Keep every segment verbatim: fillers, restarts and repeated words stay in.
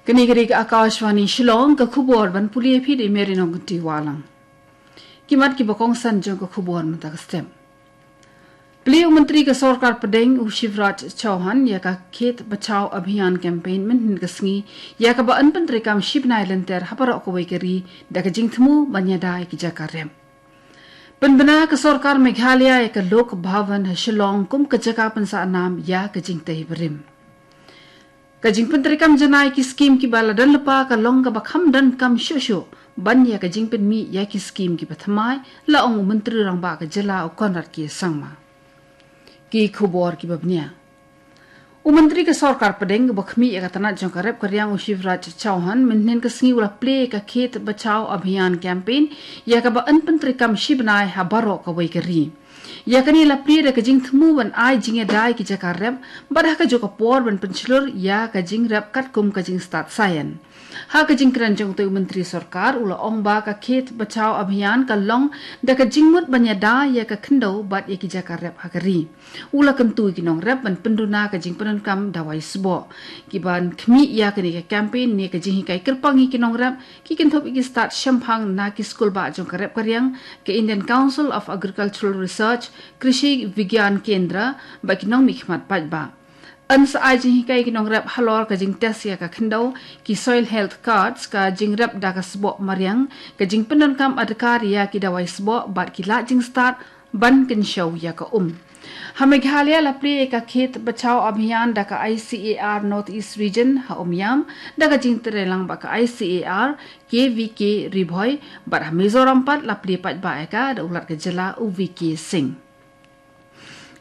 Kane ka dei ka Akashvani Shillong, ka khubor ban pule ïa phi da i Mary Nongkynrih Wahlang. Ki mat kiba kongsan jong ka khubor mynta ka step. Plie u Myntri ka Sorkar Pdeng u Shivraj Chauhan ïa ka Khet Bachao Abhiyan campaign mynhynnin ka sngi, ïa kaba yn pyntreikam shi bnai lynter ha baroh kawei ka ri da ka jingthmu ban ïada ïa ki jaka rep. Pynbna ka Sorkar Meghalaya ïa ka Lok Bhavan ha Shillong kum ka jaka pynsah nam ïa ka jingtei barim. Ka jingpyntreikam janai ki skim kiba la don lypa ka long kaba kham donkam shuh shuh ban ïa ka jingpynmih ïa ki skim kiba thymmai, la ong u Myntri Rangbah ka jylla u Conrad K Sangma. Ki khubor kiba bniah. U Myntri ka Sorkar Pdeng uba khmih ïa ka tnat jong ka rep ka riang u Shivraj Chauhan mynhynnin ka sngi u la plie ïa ka Khet Bachao Abhiyan campaign, ïa kaba yn pyntreikam shi bnai ha baroh kawei ka ri. Ïa kane la plie da ka jingthmu ban ai jingïada ïa ki jaka rep, bad ha kajuh ka por ban pynshlur ïa ka jingrep katkum ka jingstad saian. Ha ka jingkren jong utei u Myntri Sorkar u la ong ba ka Khet Bachao Abhiyan ka long da ka jingmut ban ïada ïa ka khyndew bad ïa ki jaka rep ha ka ri. U la kyntu ïa ki nongrep ban pynduna ka jingpyndonkam dawai sboh. Kiban khmih ïa kane ka campaign ne ka jinghikai kyrpang ïa ki nongrep, ki kynthup ïa ki stad shemphang na ki skulbah jong ka rep ka riang, ka Indian Council of Agricultural Research, Krishi Vigyan Kendra, bad ki nongmihkhmat paidbah. Yn sa ai jinghikai ïa ki nongrep halor ka jingtest ïa ka khyndew, ki soil health cards, ka jingrep da ka sboh mariang, ka jingpyndonkam adkar ïa ki dawai sboh bad ki lad jingstad ban kynshew ïa ka um. Ha Meghalaya la plie ïa ka Khet Bachao Abhiyan da ka I C A R North East Region ha Umiam, da ka jingtreilang bad ka I C A R K V K Ri Bhoi, bad ha Mizoram pat la plie paidbah ïa ka da u Lat ka jylla u V K Singh.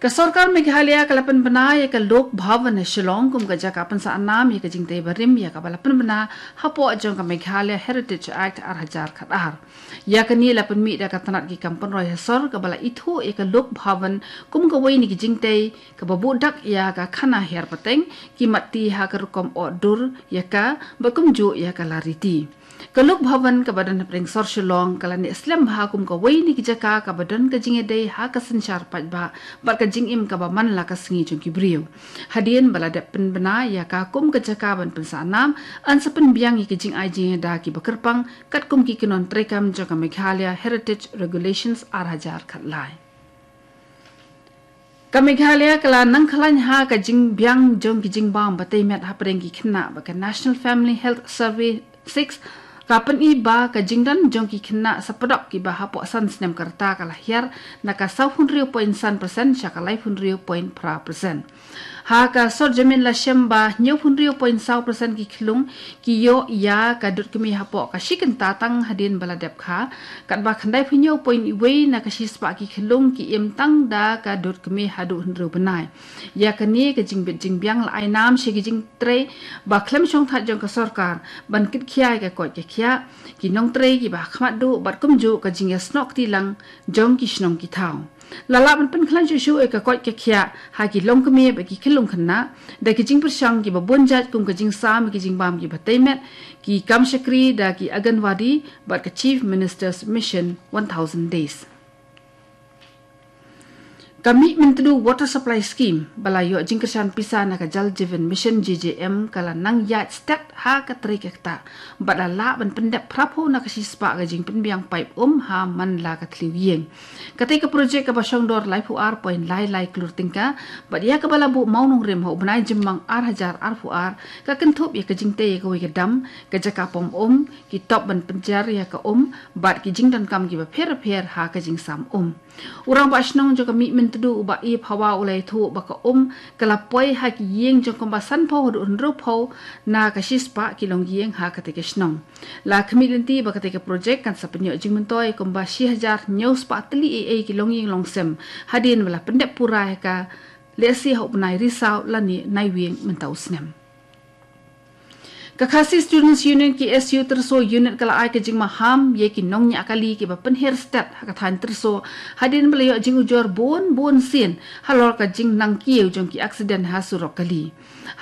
Ka Sorkar Meghalaya ka la pynbna ïa ka Lok Bhavan ha Shillong kum ka jaka pynsah nam ïa ka jingtei barim, ïa kaba la pynbna hapoh jong ka Meghalaya Heritage Act ar hajar khat ar. Ïa kane la pynmih da ka tnat ki kam pynroi ha sor kaba la ithuh ïa ka Lok Bhavan kum kawei na ki jingtei kaba buh dak ïa ka khana hiar pateng, ki mat ti ha ka rukom oh dur ïa ka, bad kumjuh ïa ka lariti. Ka Lok Bhavan kaba don hapdeng sor Shillong ka la neh slem bha kum kawei na ki jaka kaba don ka jingïadei ha ka synshar paidbah bad ka jingim kaba man la ka sngi jong ki briew. Hadien ba la dep pynbna ïa ka kum ka jaka ban pynsah nam, yn sa pynbiang ïa ki jingai jingïada kiba kyrpang katkum ki kynhun treikam jong ka Meghalaya Heritage Regulations ar hajar khat lai. Ka Meghalaya ka la nang khlaiñ ha ka jingbiang jong ki jingbam ba tei met hapdeng ki khynnah bad ka National Family Health Survey six ka pyni ba ka jingdon jong ki khynnah sa padok kiba hapoh san snem ka rta ka la hiar na ka saw phew hynriew point san percent sha ka lai phew hynriew point phra percent. Ha ka sor jamin la shem ba hynñiew phew hynriew point saw percent ki khyllung ki ïoh ïa ka dud kmie hapoh ka shi kynta tang hadien ba la dep kha, katba khyndai phew hynñiew point wei na ka shispah ki khyllung ki im tang da ka dud kmie haduh hynriew bnai. Ïa kane ka jingbit jingbiang la ai nam sha ki jingtrei ba khlem shongthait jong ka sorkar ban kit khia ïa ka koit ka khiah, ki nongtrei kiba ha khmat duh bad kumjuh ka jingïasnoh kti lang jong ki shnong ki thaw. La lah ban pynkhlaiñ shuh shuh ïa ka koit ka khiah ha ki longkmie bad ki khyllung khynnah da ki jingpyrshang kiba bun jait kum ka jingsam ïa ki jingbam kiba tei met, ki kam shakri da ki Anganwadi bad ka Chief Minister's Mission one thousand Days. Ka Mihmyntdu Water Supply Scheme ba la ïoh jingkyrshan pisa na ka Jal Jeevan Mission, J J M, ka la nang ïaid stet ha ka trei ka ktah bad la lah ban pyndep phra phew na ka shispah ka jingpynbiang paip um ha man la ka thliew ïing. Katei ka projek kaba shong dor laiphew ar point lai lai klur tyngka bad ïa kaba la buh mawnongrim ha u bnai Jymmang ar hajar arphew ar ka kynthup ïa ka jingtei ïa kawei ka dam, ka jaka pom um, ki top ban pynjar ïa ka um bad ki jingdonkam kiba pher bapher ha ka jingsam um. U Rangbah Shnong jong ka Mihmyntdu u Bah E Phawa u la ïathuh ba ka um ka la poi ha ki ïing jong kumba sanphew haduh hynriewphew na ka shispah ki longïing ha katei ka shnong. La khmih lynti ba katei ka projek kan sa pynïoh jingmyntoi kumba shi hajar hynñiew spah tylli ei ei ki longïing longsem hadien ba la pyndep pura ïa ka lehse ha u bnai Risaw lane Naiwieng mynta u snem. Ka Khasi Students Union, K S U, Tyrso Unit ka la ai ka jingmaham ïa ki nongñiah kali kiba pynhiar stet ha ka thaiñ Tyrso hadien ba la ïoh jingujor bun bun sien halor ka jingnang kiew jong ki aksiden ha surok kali.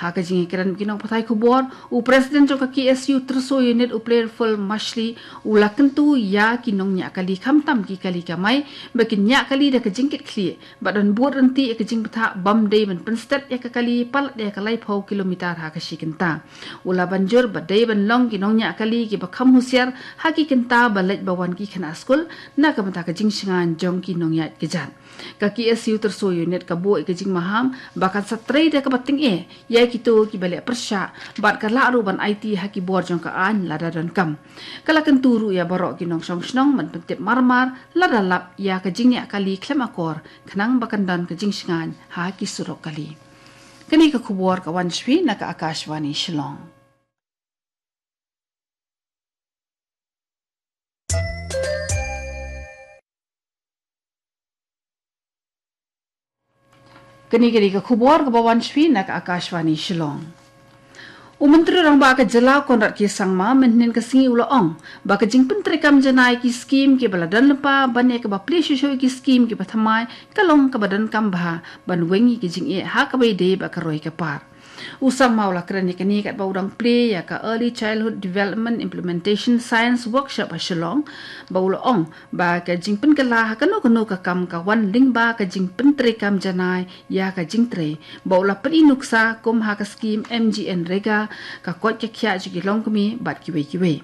Ha ka jingïakren bad ki nongpathai khubor, u President jong ka K S U Tyrso Unit, u Playful Mashli, u la kyntu ïa ki nongñiah kali, khamtam ki kali kamai, ba kin ñiah kali da ka jingkitkhlieh bad yn bud ryntih ïa ka jingbthah bym dei ban pynstet ïa ka kali palat ïa ka laiphew kilometer ha ka shi kynta. U la ban jur ba dei ban long ki nongñiah kali kiba kham husiar ha ki kynta ba leit ba wan ki khynnah skul na ka bynta ka jingshngaiñ jong ki nongïaid kjat. Ka K S U Tyrso Unit ka buh ïa ka jingmaham ba kan sa trei da kaba tyngeh ïa kito kiba leh pyrshah bad ka lah ruh ban aiti ha ki bor jong ka aiñ lada donkam. Ka la kyntu ruh ïa baroh ki nongshong shnong ban pyntip marmar lada lap ïa ka jingñiah kali khlem akor khnang ba kan don ka jingshngaiñ ha ki surok kali. Kane ka khubor ka wan sha phi na ka Akashvani Shillong. Kane ka dei ka khubor kaba wan sha phi na ka Akashvani Shillong. U Myntri Rangbah ka Jylla Conrad K Sangma mynhynnin ka sngi u la ong ba ka jingpyntreikam janai ki skim kiba la don lypa ban ïa kaba plie shuh shuh ki skim kiba thymmai ka long kaba donkam bha ban weng ïa ki jingeh ha kaba ïadei bad ka roi ka par. U Sangma u la kren ïa kane katba u dang plie ïa ka Early Childhood Development Implementation Science Workshop ha Shillong, ba u la ong ba ka jingpynkylla ha kano kano ka kam ka wan lyngba ka jingpyntreikam janai ïa ka jingtrei, ba u la pyni nuksa kum ha ka skim MGNREGA, ka koit ka khiah jong ki longkmie bad kiwei kiwei.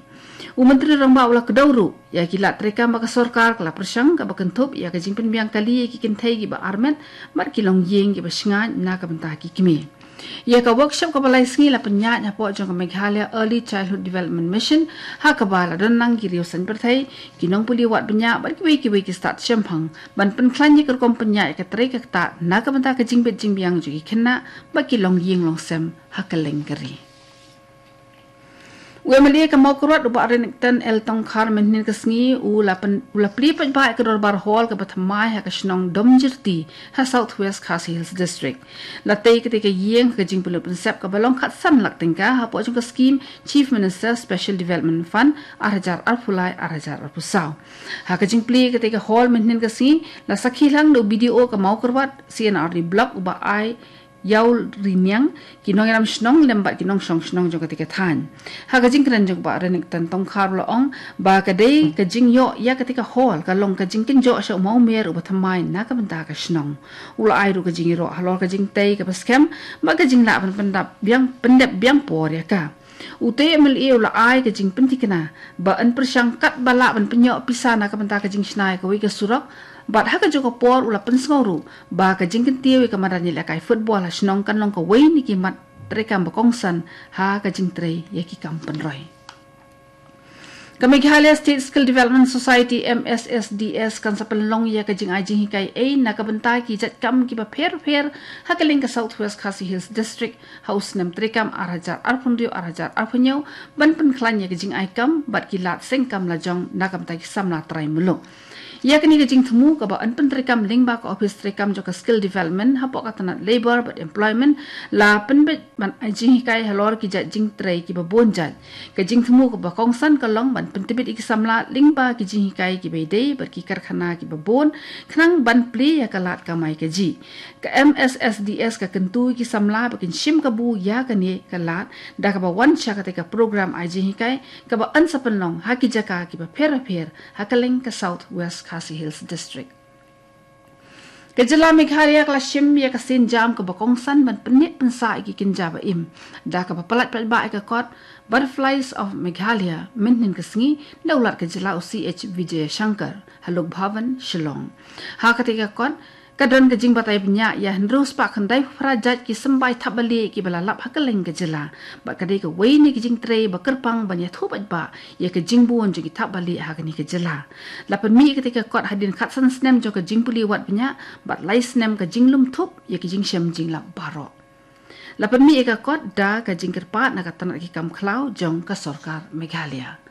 U Myntri Rangbah u la kdew ruh ïa ki lad treikam ba ka sorkar ka la pyrshang kaba kynthup ïa ka jingpynbiang kali ïa ki kynthei kiba armet bad ki longïing kiba shngaiñ na ka bynta ki kmie. Ïa ka workshop kaba lai sngi la pynïaid hapoh jong ka Meghalaya Early Childhood Development Mission, ha kaba la don lang ki riew saiñ pyrthei, ki nongpule wad bniah bad kiwei kiwei ki stad shemphang ban pynkhlaiñ ïa ka rukom pynïaid ïa ka trei ka ktah na ka bynta ka jingbit jingbiang jong ki khynnah bad ki longïing longsem ha kylleng ka ri. U MLA ka Mawkyrwat u Bah Renikton L Tongkhar mynhynnin ka sngi u la plie paidbah ïa ka dorbar hall kaba thymmai ha ka shnong Domjyrti ha South West Khasi Hills District. La tei kata ka ïing ha ka jingpynlut pynsep kaba long khatsan lak tyngka hapoh jong ka skim Chief Minister Special Development Fund ar hajar arphew lai ar hajar arphew saw. Ha ka jingplie kata ka hall mynhynnin ka sngi la sakhi lang da u BDO ka Mawkyrwat, C&RD Block u Bah I Ïawriniang, ki nongïalam shnong lem bad ki nongshong shnong jong kata ka thaiñ. Ha ka jingkren jong u Bah Renikton Tongkhar u la ong ba ka dei ka jingïoh ïa kata ka hall ka long ka jingkynjoh sha u mawmer uba thymmai na ka bynta ka shnong. U la ai ruh ka jingïaroh halor ka jingtei kaba skhem bad ka jinglah ban pyndep biang, pyndep biang por ïa ka. Utei u MLA u la ai ka jingpynthikna ba yn pyrshang katba lah ban pynïoh pisa na ka bynta ka jingshna ïa kawei ka surok, bad ha kajuh ka por u la pynsngew ruh ba ka jingkyntiew ïa ka madan ïalehkai football ha shnong kan long kawei na ki mat treikam ba kongsan ha ka jingtrei ïa ki kam pynroi. Ka Meghalaya State Skill Development Society, MSSDS, kan sa pynlong ïa ka jingai jinghikai ei na ka bynta ki jait kam kiba pher pher ha kylleng ka South West Khasi Hills District ha u snem treikam ar hajar arphew hynriew ar hajar arphew hynñiew ban pynkhlaiñ ïa ka jingai kam bad ki lad seng kam lajong na ka bynta ki samla trai muluk. Ïa kane ka jingthmu kaba yn pyntreikam lyngba ka ophis treikam jong ka Skill Development hapoh ka tnat Labour bad Employment la pynbeit ban ai jinghikai halor ki jait jingtrei kiba bun jait. Ka jingthmu kaba kongsan ka long ban pyntbit ïa ki samla lyngba ki jinghikai kiba ïadei bad ki karkhana kiba bun khnang ban plie ïa ka lad kamai kajih. Ka MSSDS ka kyntu ïa ki samla ba kin shim kabu ïa kane ka lad da kaba wan sha kata ka program ai jinghikai kaba yn sa pynlong ha ki jaka kiba pher bapher ha kylleng ka South West Khasi Hills District. Ka jylla Meghalaya ka la shim ïa ka sienjam kaba kongsan ban pynneh pynsah ïa ki kynja ba im da kaba pyllait paidbah ïa ka kot Butterflies of Meghalaya mynhynnin ka sngi da u Lat ka jylla u C H Vijayashankar ha Lok Bhavan, Shillong. Ha kata ka kot ka don ka jingbatai bniah ïa hynriew spah khyndai phew phra jait ki symbai thapbalieh kiba la lap ha kylleng ka jylla bad ka dei kawei na ki jingtrei ba kyrpang ban ïathuh paidbah ïa ka jingbun jong ki thapbalieh ha kane ka jylla. La pynmih ïa kata ka kot hadien khatsan snem jong ka jingpule wad bniah bad lai snem ka jinglum thup ïa ka jingshem jinglap baroh. La pynmih ïa ka kot da ka jingkyrpad na ka tnat ki kam khlaw jong ka sorkar Meghalaya.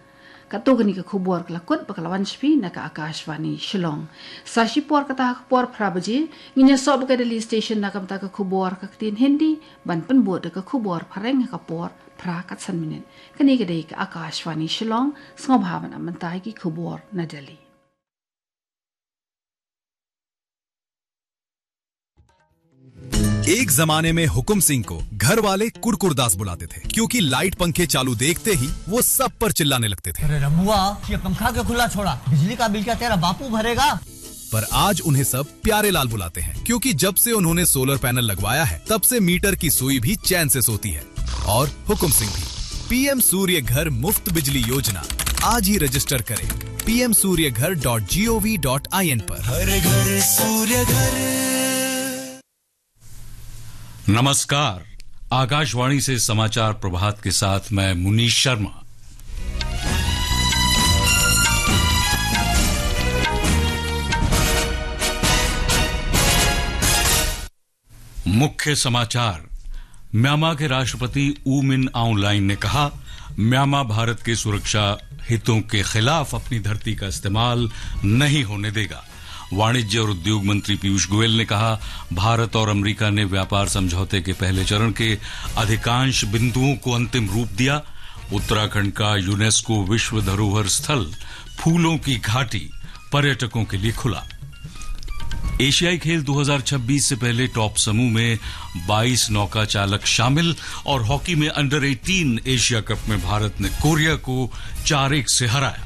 Katto katne ka khubor ka la kut bad ka la wan sha phi na ka Akashvani Shillong. Sa shipor kata ha ka por phra baje ngin ïasoh bad ka Delhi Station na ka bynta ka khubor ha ka ktien Hindi ban pynbud da ka khubor phareng ha ka por phra khatsan minit. Kane ka dei ka Akashvani Shillong, sngewbha ban ap mynta ïa ki khubor na Delhi. एक जमाने में हुकुम सिंह को घर वाले कुरकुरदास बुलाते थे, क्योंकि लाइट पंखे चालू देखते ही वो सब पर चिल्लाने लगते थे। अरे रमुआ, ये पंखा क्यों खुला छोड़ा? बिजली का बिल क्या तेरा बापू भरेगा? पर आज उन्हें सब प्यारे लाल बुलाते हैं, क्योंकि जब से उन्होंने सोलर पैनल लगवाया है, तब से मीटर की सुई भी चैन से सोती है और हुकुम सिंह भी। पीएम सूर्य घर मुफ्त बिजली योजना, आज ही रजिस्टर करें पीएम सूर्य घर डॉट जीओवी डॉट आईएन पर। हर घर सूर्य घर। नमस्कार, आकाशवाणी से समाचार प्रभात के साथ मैं मुनीश शर्मा। मुख्य समाचार। म्यांमार के राष्ट्रपति ऊ मिन आउंग लाइन ने कहा, म्यांमार भारत के सुरक्षा हितों के खिलाफ अपनी धरती का इस्तेमाल नहीं होने देगा। वाणिज्य और उद्योग मंत्री पीयूष गोयल ने कहा, भारत और अमेरिका ने व्यापार समझौते के पहले चरण के अधिकांश बिंदुओं को अंतिम रूप दिया। उत्तराखंड का यूनेस्को विश्व धरोहर स्थल फूलों की घाटी पर्यटकों के लिए खुला। एशियाई खेल दो हज़ार छब्बीस से पहले टॉप समूह में बाईस नौका चालक शामिल और हॉकी में अंडर एटीन एशिया कप में भारत ने कोरिया को चार एक से हराया।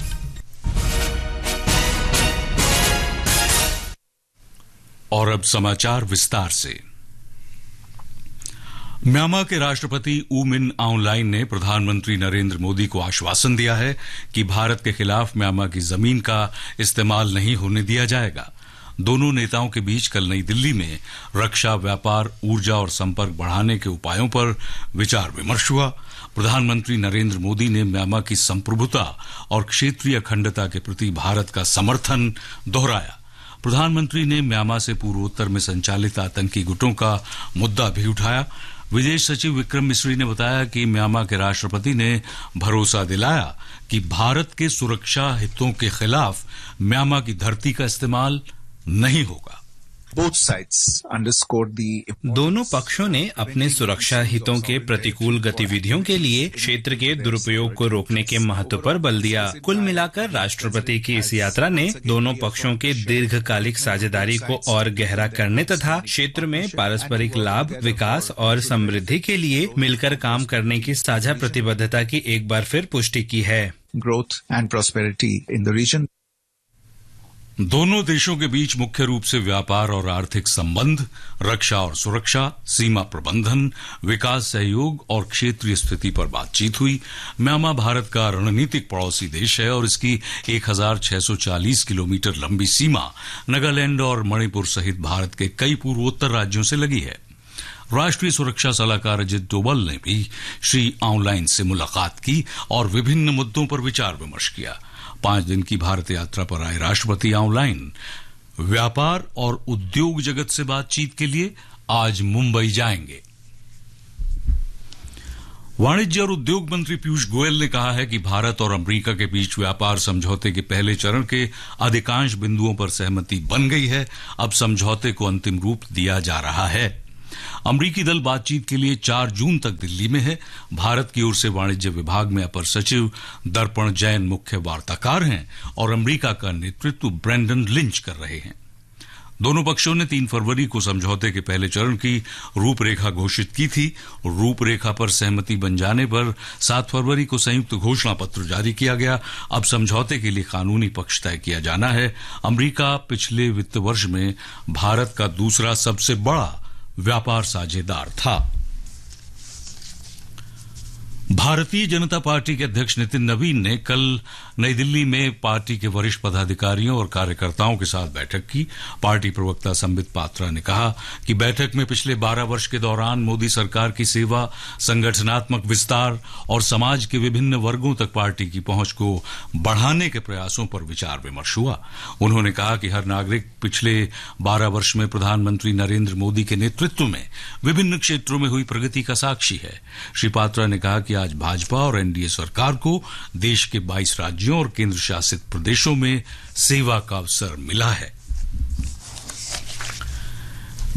और अब समाचार विस्तार से। म्यांमार के राष्ट्रपति ऊ मिन आउंग लाइन ने प्रधानमंत्री नरेंद्र मोदी को आश्वासन दिया है कि भारत के खिलाफ म्यांमार की जमीन का इस्तेमाल नहीं होने दिया जाएगा। दोनों नेताओं के बीच कल नई दिल्ली में रक्षा, व्यापार, ऊर्जा और संपर्क बढ़ाने के उपायों पर विचार विमर्श हुआ। प्रधानमंत्री नरेंद्र मोदी ने म्यांमार की संप्रभुता और क्षेत्रीय अखंडता के प्रति भारत का समर्थन दोहराया। प्रधानमंत्री ने म्यांमार से पूर्वोत्तर में संचालित आतंकी गुटों का मुद्दा भी उठाया। विदेश सचिव विक्रम मिस्री ने बताया कि म्यांमार के राष्ट्रपति ने भरोसा दिलाया कि भारत के सुरक्षा हितों के खिलाफ म्यांमार की धरती का इस्तेमाल नहीं होगा। Both sides underscored the importance दोनों पक्षों ने अपने सुरक्षा हितों के प्रतिकूल गतिविधियों के लिए क्षेत्र के दुरुपयोग को रोकने के महत्व पर बल दिया। कुल मिलाकर राष्ट्रपति की इस यात्रा ने दोनों पक्षों के दीर्घकालिक साझेदारी को और गहरा करने तथा क्षेत्र में पारस्परिक लाभ, विकास और समृद्धि के लिए मिलकर काम करने की साझा प्रतिबद्धता की एक बार फिर पुष्टि की है। Growth and prosperity in the region. दोनों देशों के बीच मुख्य रूप से व्यापार और आर्थिक संबंध, रक्षा और सुरक्षा, सीमा प्रबंधन, विकास सहयोग और क्षेत्रीय स्थिति पर बातचीत हुई। म्यांमार भारत का रणनीतिक पड़ोसी देश है और इसकी एक हज़ार छह सौ चालीस किलोमीटर लंबी सीमा नागालैंड और मणिपुर सहित भारत के कई पूर्वोत्तर राज्यों से लगी है। राष्ट्रीय सुरक्षा सलाहकार अजित डोवल ने भी श्री आउंग लाइन से मुलाकात की और विभिन्न मुद्दों पर विचार विमर्श किया। पांच दिन की भारत यात्रा पर आए राष्ट्रपति आउंग लाइन व्यापार और उद्योग जगत से बातचीत के लिए आज मुंबई जाएंगे। वाणिज्य और उद्योग मंत्री पीयूष गोयल ने कहा है कि भारत और अमेरिका के बीच व्यापार समझौते के पहले चरण के अधिकांश बिंदुओं पर सहमति बन गई है। अब समझौते को अंतिम रूप दिया जा रहा है। अमरीकी दल बातचीत के लिए चार जून तक दिल्ली में है। भारत की ओर से वाणिज्य विभाग में अपर सचिव दर्पण जैन मुख्य वार्ताकार हैं और अमेरिका का नेतृत्व ब्रेंडन लिंच कर रहे हैं। दोनों पक्षों ने तीन फरवरी को समझौते के पहले चरण की रूपरेखा घोषित की थी। रूपरेखा पर सहमति बन जाने पर सात फरवरी को संयुक्त घोषणा पत्र जारी किया गया। अब समझौते के लिए कानूनी पक्ष तय किया जाना है। अमेरिका पिछले वित्त वर्ष में भारत का दूसरा सबसे बड़ा व्यापार साझेदार था। भारतीय जनता पार्टी के अध्यक्ष नितिन नवीन ने कल नई दिल्ली में पार्टी के वरिष्ठ पदाधिकारियों और कार्यकर्ताओं के साथ बैठक की। पार्टी प्रवक्ता संबित पात्रा ने कहा कि बैठक में पिछले बारह वर्ष के दौरान मोदी सरकार की सेवा, संगठनात्मक विस्तार और समाज के विभिन्न वर्गों तक पार्टी की पहुंच को बढ़ाने के प्रयासों पर विचार विमर्श हुआ। उन्होंने कहा कि हर नागरिक पिछले बारह वर्ष में प्रधानमंत्री नरेंद्र मोदी के नेतृत्व में विभिन्न क्षेत्रों में हुई प्रगति का साक्षी है। श्री पात्रा ने कहा कि आज भाजपा और एनडीए सरकार को देश के बाईस राज्यों और केंद्र शासित प्रदेशों में सेवा का अवसर मिला है।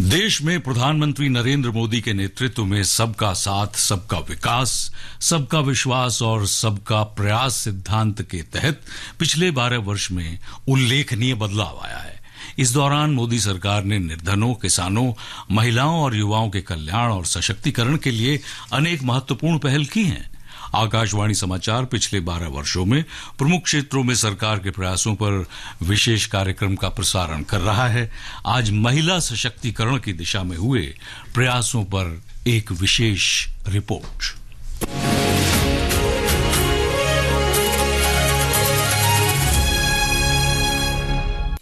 देश में प्रधानमंत्री नरेंद्र मोदी के नेतृत्व में सबका साथ, सबका विकास, सबका विश्वास और सबका प्रयास सिद्धांत के तहत पिछले बारह वर्ष में उल्लेखनीय बदलाव आया है। इस दौरान मोदी सरकार ने निर्धनों, किसानों, महिलाओं और युवाओं के कल्याण और सशक्तिकरण के लिए अनेक महत्वपूर्ण पहल की हैं। आकाशवाणी समाचार पिछले बारह वर्षों में प्रमुख क्षेत्रों में सरकार के प्रयासों पर विशेष कार्यक्रम का प्रसारण कर रहा है। आज महिला सशक्तिकरण की दिशा में हुए प्रयासों पर एक विशेष रिपोर्ट।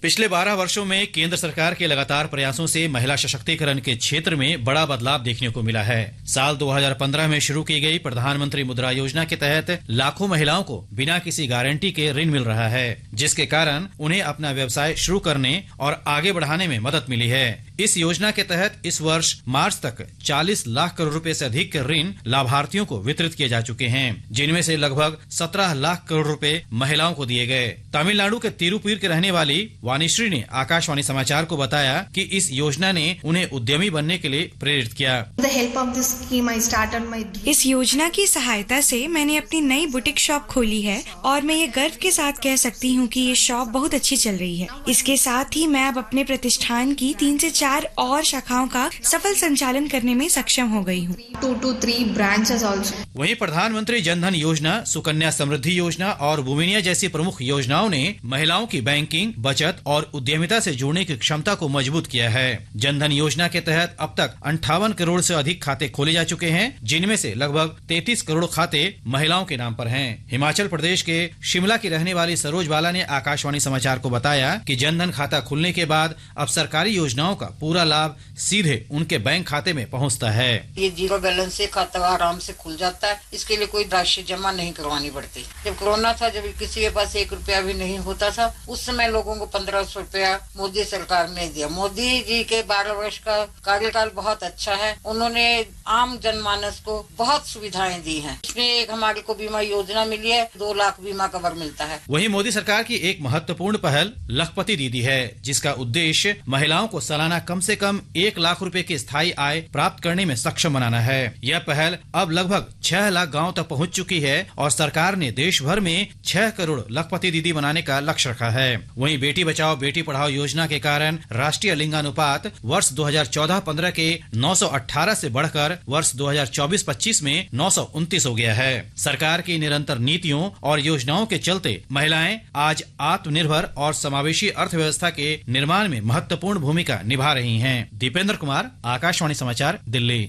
पिछले बारह वर्षों में केंद्र सरकार के लगातार प्रयासों से महिला सशक्तिकरण के क्षेत्र में बड़ा बदलाव देखने को मिला है। साल दो हज़ार पन्द्रह में शुरू की गई प्रधानमंत्री मुद्रा योजना के तहत लाखों महिलाओं को बिना किसी गारंटी के ऋण मिल रहा है, जिसके कारण उन्हें अपना व्यवसाय शुरू करने और आगे बढ़ाने में मदद मिली है। इस योजना के तहत इस वर्ष मार्च तक चालीस लाख करोड़ रुपए से अधिक के ऋण लाभार्थियों को वितरित किए जा चुके हैं, जिनमें से लगभग सत्रह लाख करोड़ रुपए महिलाओं को दिए गए। तमिलनाडु के तिरुपुर के रहने वाली वाणीश्री ने आकाशवाणी समाचार को बताया कि इस योजना ने उन्हें उद्यमी बनने के लिए प्रेरित किया। The help of this scheme, I started my इस योजना की सहायता से मैंने अपनी नई बुटीक शॉप खोली है और मैं ये गर्व के साथ कह सकती हूँ कि ये शॉप बहुत अच्छी चल रही है। इसके साथ ही मैं अब अपने प्रतिष्ठान की तीन से चार और शाखाओं का सफल संचालन करने में सक्षम हो गई हूँ। Two to three branches also. वहीं प्रधानमंत्री जनधन योजना, सुकन्या समृद्धि योजना और वुमिनिया जैसी प्रमुख योजनाओं ने महिलाओं की बैंकिंग, बचत और उद्यमिता से जुड़ने की क्षमता को मजबूत किया है। जनधन योजना के तहत अब तक अंठावन करोड़ से अधिक खाते खोले जा चुके हैं, जिनमें से लगभग तैंतीस करोड़ खाते महिलाओं के नाम पर हैं। हिमाचल प्रदेश के शिमला की रहने वाली सरोज बाला ने आकाशवाणी समाचार को बताया कि जनधन खाता खुलने के बाद अब सरकारी योजनाओं का पूरा लाभ सीधे उनके बैंक खाते में पहुंचता है। ये जीरो बैलेंस से खाता आराम से खुल जाता है, इसके लिए कोई राशि जमा नहीं करवानी पड़ती। जब कोरोना था, जब किसी के पास एक रुपया भी नहीं होता था, उस समय लोगों को पन्द्रह सौ रुपया मोदी सरकार ने दिया। मोदी जी के बारह वर्ष का कार्यकाल बहुत अच्छा है। उन्होंने आम जनमानस को बहुत सुविधाएं दी हैं। इसमें एक हमारे को बीमा योजना मिली है, दो लाख बीमा कवर मिलता है। वहीं मोदी सरकार की एक महत्वपूर्ण पहल लखपति दीदी है, जिसका उद्देश्य महिलाओं को सालाना कम से कम एक लाख रुपए की स्थायी आय प्राप्त करने में सक्षम बनाना है। यह पहल अब लगभग छह लाख गांव तक पहुंच चुकी है और सरकार ने देश भर में छह करोड़ लखपति दीदी बनाने का लक्ष्य रखा है। वहीं बेटी बचाओ बेटी पढ़ाओ योजना के कारण राष्ट्रीय लिंगानुपात वर्ष दो हज़ार चौदह पन्द्रह के नौ सौ अठारह से बढ़कर वर्ष दो हज़ार चौबीस पच्चीस में नौ सौ उनतीस हो गया है। सरकार की निरंतर नीतियों और योजनाओं के चलते महिलाएं आज आत्मनिर्भर और समावेशी अर्थव्यवस्था के निर्माण में महत्वपूर्ण भूमिका निभा रही हैं। दीपेंद्र कुमार, आकाशवाणी समाचार, दिल्ली।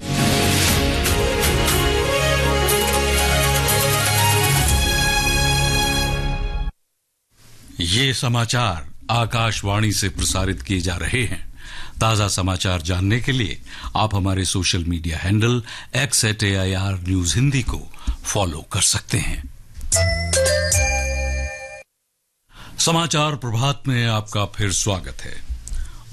ये समाचार आकाशवाणी से प्रसारित किए जा रहे हैं। ताजा समाचार जानने के लिए आप हमारे social media handle X at A I R news Hindi को फॉलो कर सकते हैं। समाचार प्रभात में आपका फिर स्वागत है।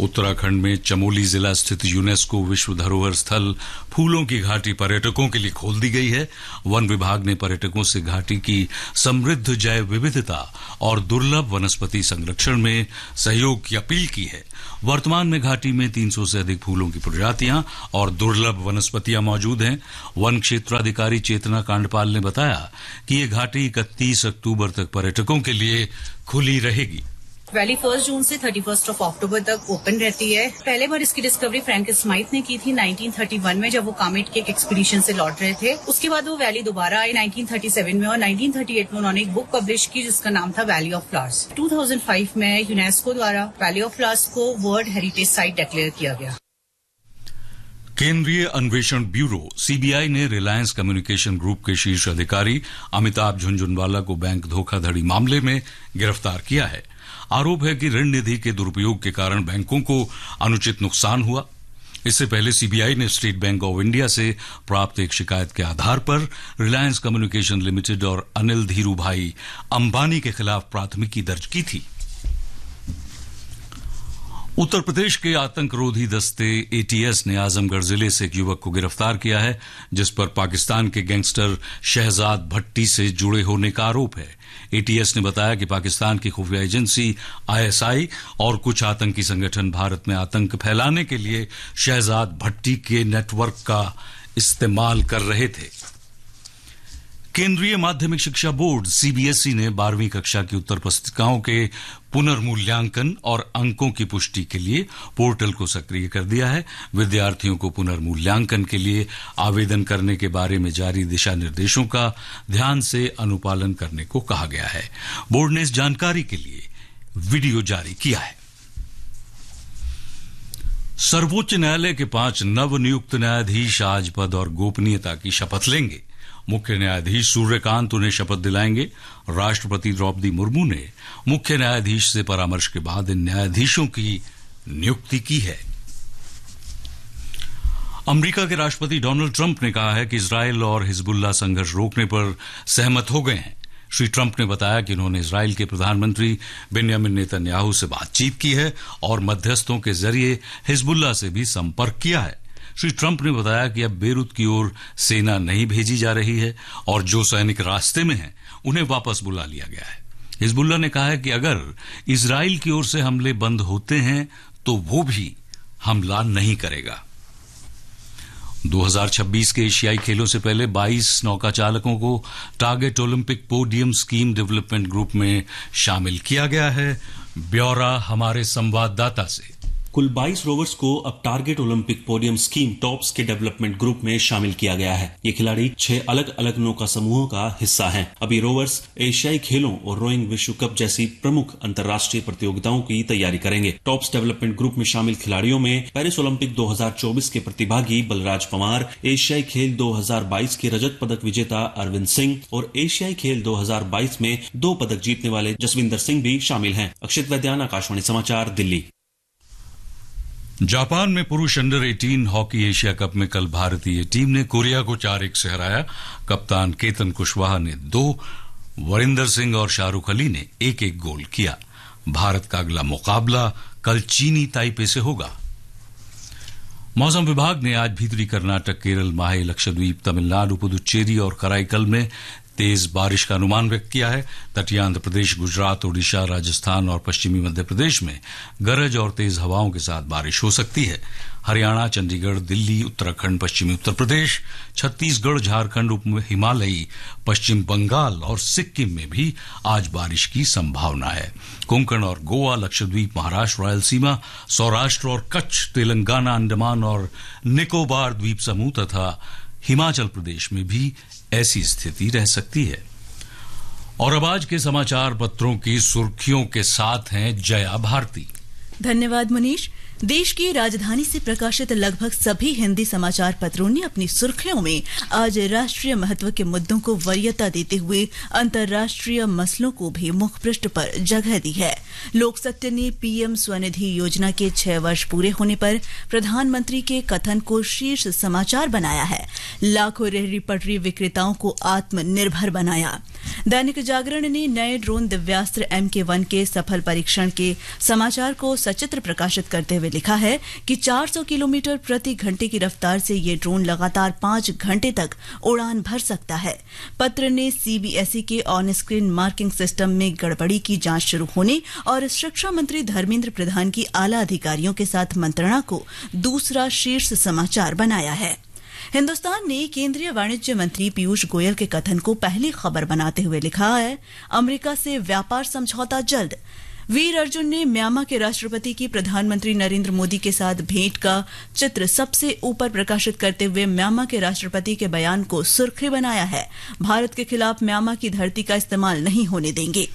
उत्तराखंड में चमोली जिला स्थित यूनेस्को विश्व धरोहर स्थल फूलों की घाटी पर्यटकों के लिए खोल दी गई है। वन विभाग ने पर्यटकों से घाटी की समृद्ध जैव विविधता और दुर्लभ वनस्पति संरक्षण में सहयोग की अपील की है। वर्तमान में घाटी में तीन सौ से अधिक फूलों की प्रजातियां और दुर्लभ वनस्पतियां मौजूद हैं। वन क्षेत्राधिकारी चेतना कांडपाल ने बताया कि ये घाटी इकतीस अक्टूबर तक पर्यटकों के लिए खुली रहेगी। वैली फर्स्ट जून से थर्टी फर्स्ट ऑफ अक्टूबर तक ओपन रहती है। पहले बार इसकी डिस्कवरी फ्रैंक स्माइथ ने की थी नाइनटीन थर्टी वन में, जब वो कामेट के एक एक्सपीडिशन से लौट रहे थे। उसके बाद वो वैली दोबारा आए नाइनटीन थर्टी सेवन में, और नाइनटीन थर्टी एट में उन्होंने एक बुक पब्लिश की जिसका नाम था valley of flowers. Two thousand five में यूनेस्को द्वारा वैली ऑफ फ्लावर्स को वर्ल्ड हेरिटेज साइट डिक्लेयर किया गया। केंद्रीय अन्वेषण ब्यूरो सीबीआई ने रिलायंस कम्युनिकेशन ग्रुप के शीर्ष अधिकारी अमिताभ झुनझुनवाला को बैंक धोखाधड़ी मामले में गिरफ्तार किया है। आरोप है कि ऋण निधि के दुरुपयोग के कारण बैंकों को अनुचित नुकसान हुआ। इससे पहले सीबीआई ने स्टेट बैंक ऑफ इंडिया से प्राप्त एक शिकायत के आधार पर रिलायंस कम्युनिकेशन लिमिटेड और अनिल धीरूभाई अंबानी के खिलाफ प्राथमिकी दर्ज की थी। उत्तर प्रदेश के आतंकरोधी दस्ते एटीएस ने आजमगढ़ जिले से एक युवक को गिरफ्तार किया है, जिस पर पाकिस्तान के गैंगस्टर शहजाद भट्टी से जुड़े होने का आरोप है। एटीएस ने बताया कि पाकिस्तान की खुफिया एजेंसी आईएसआई और कुछ आतंकी संगठन भारत में आतंक फैलाने के लिए शहजाद भट्टी के नेटवर्क का इस्तेमाल कर रहे थे। केंद्रीय माध्यमिक शिक्षा बोर्ड सीबीएसई ने बारहवीं कक्षा की उत्तर पुस्तिकाओं के पुनर्मूल्यांकन और अंकों की पुष्टि के लिए पोर्टल को सक्रिय कर दिया है। विद्यार्थियों को पुनर्मूल्यांकन के लिए आवेदन करने के बारे में जारी दिशा निर्देशों का ध्यान से अनुपालन करने को कहा गया है। बोर्ड ने इस जानकारी के लिए वीडियो जारी किया है। सर्वोच्च न्यायालय के पांच नवनियुक्त न्यायाधीश आज पद और गोपनीयता की शपथ लेंगे। मुख्य न्यायाधीश सूर्यकांत उन्हें शपथ दिलाएंगे। राष्ट्रपति द्रौपदी मुर्मू ने मुख्य न्यायाधीश से परामर्श के बाद इन न्यायाधीशों की नियुक्ति की है। अमेरिका के राष्ट्रपति डोनाल्ड ट्रंप ने कहा है कि इसराइल और हिजबुल्ला संघर्ष रोकने पर सहमत हो गए हैं। श्री ट्रंप ने बताया कि उन्होंने इसराइल के प्रधानमंत्री बेंजामिन नेतन्याहू से बातचीत की है और मध्यस्थों के जरिए हिजबुल्ला से भी संपर्क किया है। श्री ट्रंप ने बताया कि अब बेरूत की ओर सेना नहीं भेजी जा रही है और जो सैनिक रास्ते में हैं, उन्हें वापस बुला लिया गया है। हिजबुल्ला ने कहा है कि अगर इसराइल की ओर से हमले बंद होते हैं, तो वो भी हमला नहीं करेगा। दो हज़ार छब्बीस के एशियाई खेलों से पहले बाईस नौका चालकों को target Olympic podium scheme development group में शामिल किया गया है। ब्यौरा हमारे संवाददाता से। कुल बाईस रोवर्स को अब target Olympic podium scheme tops के डेवलपमेंट ग्रुप में शामिल किया गया है। ये खिलाड़ी छह अलग-अलग नौका समूहों का हिस्सा हैं। अब ये रोवर्स एशियाई खेलों और रोइंग विश्व कप जैसी प्रमुख अंतर्राष्ट्रीय प्रतियोगिताओं की तैयारी करेंगे। टॉप्स डेवलपमेंट ग्रुप में शामिल खिलाड़ियों में पेरिस ओलंपिक दो हज़ार चौबीस के प्रतिभागी बलराज पंवार, एशियाई खेल दो हज़ार बाईस के रजत पदक विजेता अरविंद सिंह और एशियाई खेल दो हज़ार बाईस में दो पदक जीतने वाले जसविंदर सिंह भी शामिल हैं। अक्षित वैद्यान, आकाशवाणी समाचार, दिल्ली। जापान में पुरुष under eighteen hockey Asia cup में कल भारतीय टीम ने कोरिया को चार एक से हराया। कप्तान केतन कुशवाहा ने दो, वरिंदर सिंह और शाहरुख अली ने एक एक गोल किया। भारत का अगला मुकाबला कल चीनी ताइपे से होगा। मौसम विभाग ने आज भीतरी कर्नाटक, केरल, माहे, लक्षद्वीप, तमिलनाडु, पुदुचेरी और कराईकल में तेज बारिश का अनुमान व्यक्त किया है। तटीय आंध्र प्रदेश, गुजरात, ओडिशा, राजस्थान और पश्चिमी मध्य प्रदेश में गरज और तेज हवाओं के साथ बारिश हो सकती है। हरियाणा, चंडीगढ़, दिल्ली, उत्तराखंड, पश्चिमी उत्तर प्रदेश, छत्तीसगढ़, झारखंड, उप हिमालयी पश्चिम बंगाल और सिक्किम में भी आज बारिश की संभावना है। कोंकण और गोवा, लक्षद्वीप, महाराष्ट्र, रायलसीमा, सौराष्ट्र और कच्छ, तेलंगाना, अंडमान और निकोबार द्वीप समूह तथा हिमाचल प्रदेश में भी ऐसी स्थिति रह सकती है। और अब आज के समाचार पत्रों की सुर्खियों के साथ हैं जया भारती। धन्यवाद मनीष। देश की राजधानी से प्रकाशित लगभग सभी हिंदी समाचार पत्रों ने अपनी सुर्खियों में आज राष्ट्रीय महत्व के मुद्दों को वरीयता देते हुए अंतर्राष्ट्रीय मसलों को भी मुखपृष्ठ पर जगह दी है। लोकसत्य ने पीएम स्वनिधि योजना के छह वर्ष पूरे होने पर प्रधानमंत्री के कथन को शीर्ष समाचार बनाया है। लाखों रेहड़ी पटरी विक्रेताओं को आत्मनिर्भर बनाया। दैनिक जागरण ने नए ड्रोन दिव्यास्त्र एम के वन के सफल परीक्षण के समाचार को सचित्र प्रकाशित करते हुए लिखा है कि चार सौ किलोमीटर प्रति घंटे की रफ्तार से ये ड्रोन लगातार पाँच घंटे तक उड़ान भर सकता है। पत्र ने सीबीएसई के ऑन स्क्रीन मार्किंग सिस्टम में गड़बड़ी की जांच शुरू होने और शिक्षा मंत्री धर्मेंद्र प्रधान की आला अधिकारियों के साथ मंत्रणा को दूसरा शीर्ष समाचार बनाया है। हिंदुस्तान ने केंद्रीय वाणिज्य मंत्री पीयूष गोयल के कथन को पहली खबर बनाते हुए लिखा है, अमेरिका से व्यापार समझौता जल्द। वीर अर्जुन ने म्यांमार के राष्ट्रपति की प्रधानमंत्री नरेंद्र मोदी के साथ भेंट का चित्र सबसे ऊपर प्रकाशित करते हुए म्यांमार के राष्ट्रपति के बयान को सुर्खी बनाया है, भारत के खिलाफ म्यांमार की धरती का इस्तेमाल नहीं होने देंगे।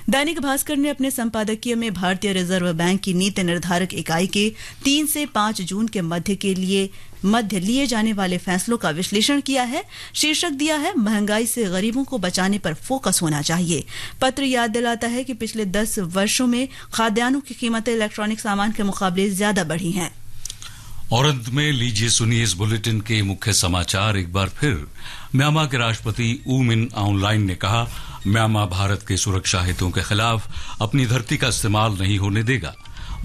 दैनिक भास्कर ने अपने संपादकीय में भारतीय रिजर्व बैंक की नीति निर्धारक इकाई के तीन से पाँच जून के मध्य के लिए, मध्य लिए जाने वाले फैसलों का विश्लेषण किया है। शीर्षक दिया है, महंगाई से गरीबों को बचाने पर फोकस होना चाहिए। पत्र याद दिलाता है कि पिछले दस वर्षों में खाद्यान्नों की कीमतें इलेक्ट्रॉनिक सामान के मुकाबले ज्यादा बढ़ी हैं। और अंत में लीजिए सुनिए इस बुलेटिन के मुख्य समाचार एक बार फिर। म्यांमार के राष्ट्रपति ऊ मिन आउंग लाइन ने कहा, म्यांमार भारत के सुरक्षा हितों के खिलाफ अपनी धरती का इस्तेमाल नहीं होने देगा।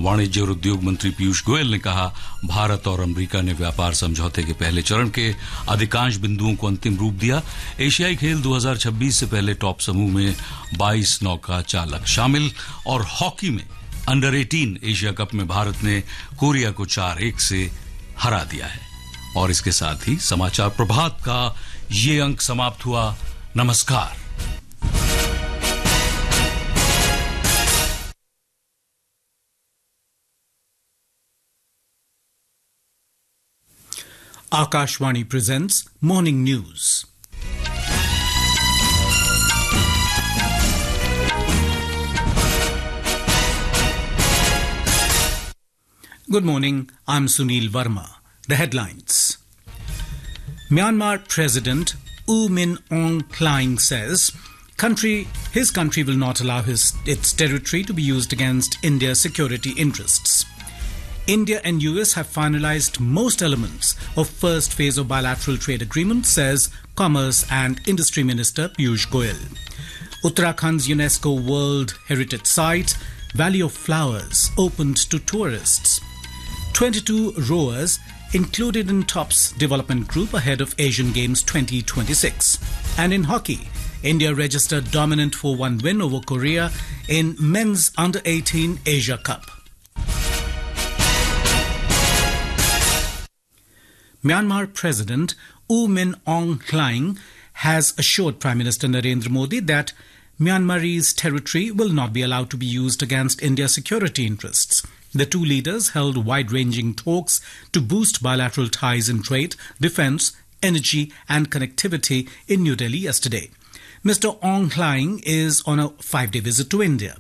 वाणिज्य और उद्योग मंत्री पीयूष गोयल ने कहा, भारत और अमेरिका ने व्यापार समझौते के पहले चरण के अधिकांश बिंदुओं को अंतिम रूप दिया। एशियाई खेल दो हज़ार छब्बीस से पहले टॉप समूह में बाईस नौका चालक शामिल। और हॉकी में अंडर एटीन एशिया कप में भारत ने कोरिया को चार एक से हरा दिया है। और इसके साथ ही समाचार प्रभात का ये अंक समाप्त हुआ। नमस्कार। Akashvani presents Morning News. Good morning, I'm Sunil Verma. The headlines. Myanmar President U Min Aung Hlaing says country, his country will not allow his, its territory to be used against India's security interests. India and U S have finalized most elements of first phase of bilateral trade agreement, says Commerce and Industry Minister Piyush Goyal. Uttarakhand's UNESCO World Heritage Site, Valley of Flowers, opened to tourists. Twenty-two rowers included in TOPS development group ahead of Asian Games twenty twenty-six. And in hockey, India registered dominant four one win over Korea in men's under eighteen Asia Cup. Myanmar President U Min Aung Hlaing has assured Prime Minister Narendra Modi that Myanmarese territory will not be allowed to be used against India's security interests. The two leaders held wide-ranging talks to boost bilateral ties in trade, defense, energy and connectivity in New Delhi yesterday. Mister Aung Hlaing is on a five-day visit to India.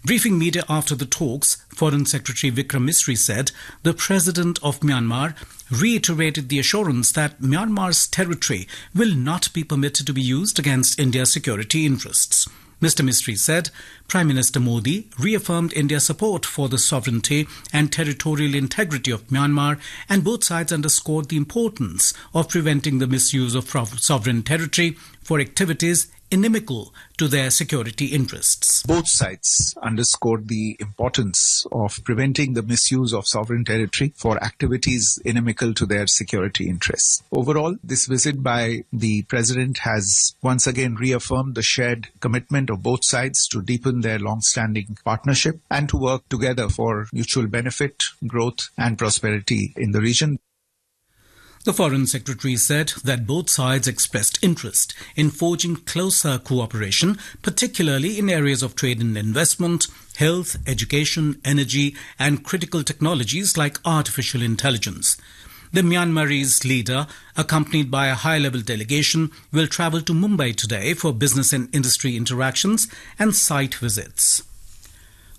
Briefing media after the talks, Foreign Secretary Vikram Misri said the President of Myanmar reiterated the assurance that Myanmar's territory will not be permitted to be used against India's security interests. Mister Misri said Prime Minister Modi reaffirmed India's support for the sovereignty and territorial integrity of Myanmar, and both sides underscored the importance of preventing the misuse of sovereign territory for activities inimical to their security interests. Both sides underscored the importance of preventing the misuse of sovereign territory for activities inimical to their security interests. Overall, this visit by the President has once again reaffirmed the shared commitment of both sides to deepen their long-standing partnership and to work together for mutual benefit, growth, and prosperity in the region. The Foreign Secretary said that both sides expressed interest in forging closer cooperation, particularly in areas of trade and investment, health, education, energy, and critical technologies like artificial intelligence. The Myanmarese leader, accompanied by a high-level delegation, will travel to Mumbai today for business and industry interactions and site visits.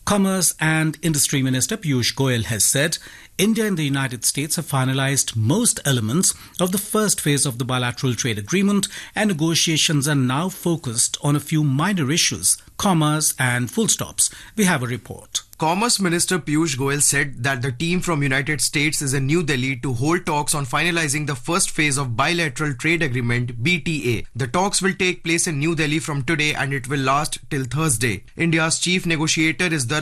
Commerce and Industry Minister Piyush Goyal has said India and the United States have finalized most elements of the first phase of the bilateral trade agreement, and negotiations are now focused on a few minor issues, commas and full stops. We have a report. Commerce Minister Piyush Goyal said that the team from United States is in New Delhi to hold talks on finalizing the first phase of bilateral trade agreement, B T A. The talks will take place in New Delhi from today and it will last till Thursday. India's chief negotiator is Dhar